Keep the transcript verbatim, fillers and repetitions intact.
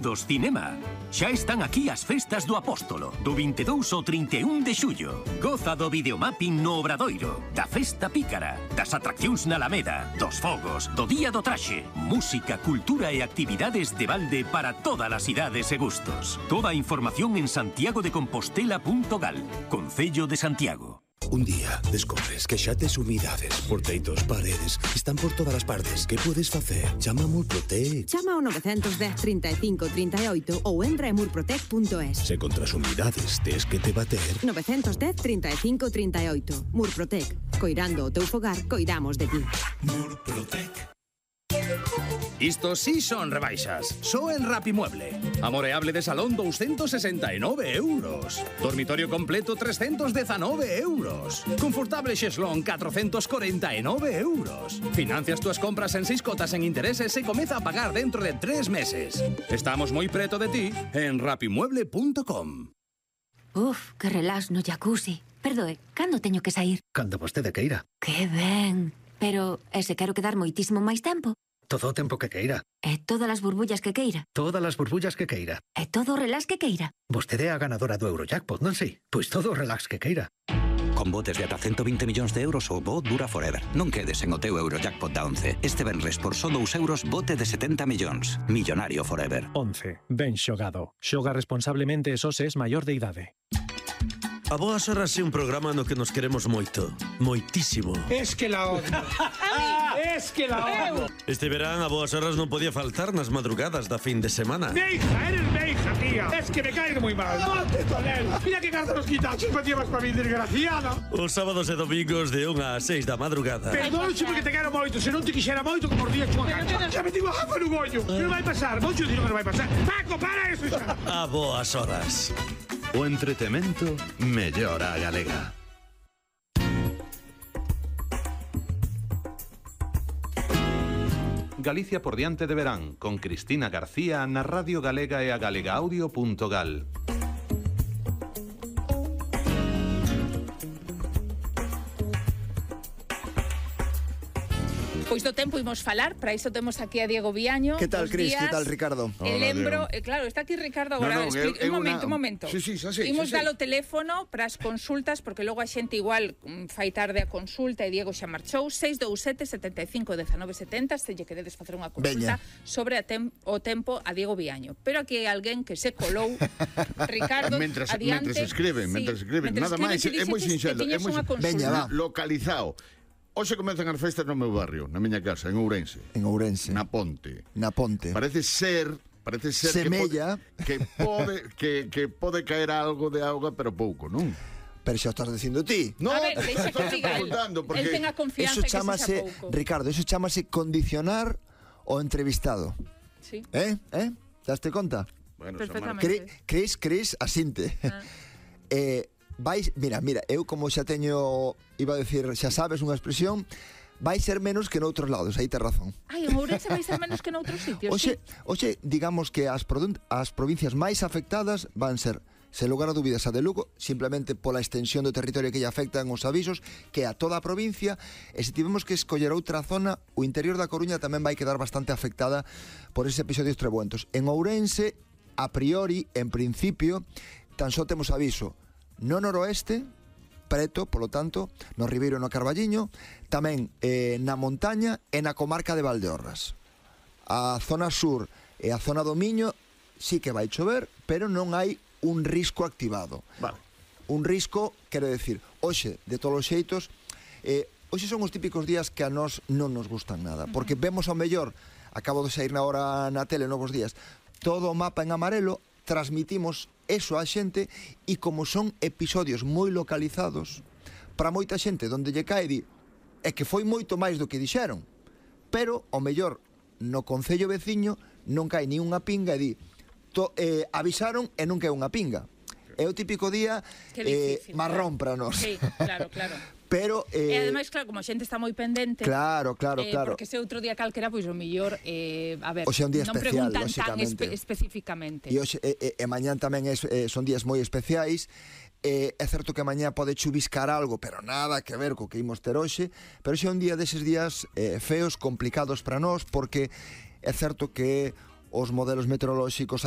Dos cinema. Xa están aquí as festas do Apóstolo, do vinte e dous ao trinta e un de xullo. Goza do videomapping no Obradoiro, da festa pícara, das atraccións na Alameda, dos fogos, do día do traxe, música, cultura e actividades de balde para todas as idades e gustos. Toda a información en santiago de compostela punto gal, Concello de Santiago. Un día descobres que xa tes humidades por teitos, paredes, están por todas as partes. Que podes facer? Chama a Murprotec. Chama ao nove dez, trinta e cinco, trinta e oito ou entra en murprotec punto es. Se contra as humidades tes que te bater. nove dez, trinta e cinco, trinta e oito. Murprotec. Coirando o teu fogar, coidamos de ti. Murprotec. Isto sí son rebaixas. Só en Rapimueble. Amoreable de salón doscientos sesenta e nove euros. Dormitorio completo trescientos diecinueve euros. Confortable xeslón cuatrocientos cuarenta e nove euros. Financias túas compras en seis cotas en intereses e comeza a pagar dentro de tres meses. Estamos moi preto de ti en rapimueble punto com. Uf, que relax no jacuzzi. Perdoe, cando teño que sair? Cando vostede queira. Que ben. Pero, e se quero quedar moitísimo máis tempo? Todo o tempo que queira. E todas as burbullas que queira? Todas as burbullas que queira. E todo o relax que queira? Vostede é a ganadora do Eurojackpot, non si? Pois todo o relax que queira. Con botes de ata ciento veinte millóns de euros o bo dura forever. Non quedes en o teu Eurojackpot da once. Este venres por só dous euros bote de setenta millóns. Millonario forever. once. Ben xogado. Xoga responsablemente e só se es maior de idade. A Boas Horas é un programa no que nos queremos moito. Moitísimo. Es que la odio. Es que la odio. Este verán a Boas Horas non podía faltar nas madrugadas da fin de semana. ¡Meija! ¡Eres meija, tía! Es que me caes muy mal. ¡Monte, Tonel! Mira que carta los quitachos me llevas para mí, desgraciada. Os sábados e domingos de unha a seis da madrugada. Perdón, porque te quero moito. Se non te quixera moito, como os días chunga cancha. Xa me digo a jafa no goño. Que non vai pasar. Moito dixo que non vai pasar. Paco, para eso xa. A Boas Horas. O entretemento mellora a galega. Galicia por diante de verán, con Cristina García na Radio Galega e a galegaaudio punto gal. Pois do tempo imos falar, para iso temos aquí a Diego Viaño. Que tal, Cris? Que tal, Ricardo? E lembro, eh, claro, está aquí Ricardo agora. No, no, Expli- é, é un momento, una... un momento. Sí, sí, xa sei, Imos xa sei. dar o teléfono para as consultas, porque logo a xente igual mm, fai tarde a consulta e Diego xa marchou. seis dous sete, sete cinco, un nove sete zero, se lle queredes facer unha consulta Veña. sobre a tem o tempo a Diego Viaño. Pero aquí hai alguén que se colou. Ricardo, Mentras, adiante. mentras escriben, Sí, mentras escriben. mentras Nada máis, escribes, é moi dixeches que sinxelo, é tiñes moi unha consulta. Veña, va. localizado. Hoxe comezan as festas no meu barrio, na miña casa, en Ourense. En Ourense. Na Ponte. Na Ponte. Parece ser, parece ser Semella. que pode, que pode que que pode caer algo de auga, pero pouco, non? Pero xa estás dicindo ti. No, A ver, deixa que estou diga el. preguntando porque El ten a confianza Eso que chamase, se xa pouco. Ricardo, eso chamase condicionar o entrevistado. Sí. Eh? Eh? Daste conta? Bueno, Perfectamente. Cri, Cris, Cris, asinte. Ah. eh, vais, mira, mira, eu como xa teño, iba a decir, xa sabes unha expresión, vai ser menos que noutros lados, aí tes razón. Ai, en Ourense vai ser menos que noutros sitios, Oxe, sí. oxe, digamos que as, produn- as provincias máis afectadas van ser, sen lugar a dúbidas, a de Lugo, simplemente pola extensión do territorio que lle afectan os avisos, que a toda a provincia, e se tivemos que escoller outra zona, o interior da Coruña tamén vai quedar bastante afectada por ese episodios trebuentos. En Ourense, a priori, en principio, tan só temos aviso no noroeste, preto, polo tanto, no Ribeiro e no Carballiño, tamén eh, na montaña e na comarca de Valdeorras. A zona sur e a zona do Miño sí que vai chover, pero non hai un risco activado. Vale. Un risco, quero decir, hoxe, de todos os xeitos, eh, hoxe son os típicos días que a nós non nos gustan nada, porque vemos ao mellor, acabo de sair na hora na tele novos días, todo o mapa en amarelo, transmitimos eso á xente e como son episodios moi localizados, para moita xente donde lle cae di é que foi moito máis do que dixeron, pero ao mellor no concello veciño non cae ni unha pinga e di to, eh, avisaron e non cae unha pinga. É o típico día eh, marrón para nós. Sí, claro, claro. Pero eh, E ademais, claro, como a xente está moi pendente. Claro, claro, eh, claro. Porque se outro día calquera, pois o mellor, eh, a ver, O sea, un día non especial, preguntan tan lóxicamente. espe especificamente. E hoxe e, e, e mañán tamén es, eh, son días moi especiais. Eh, é certo que mañá pode chuviscar algo, pero nada que ver co que imos ter hoxe, pero hoxe é un día deses días eh, feos, complicados para nós, porque é certo que os modelos meteorolóxicos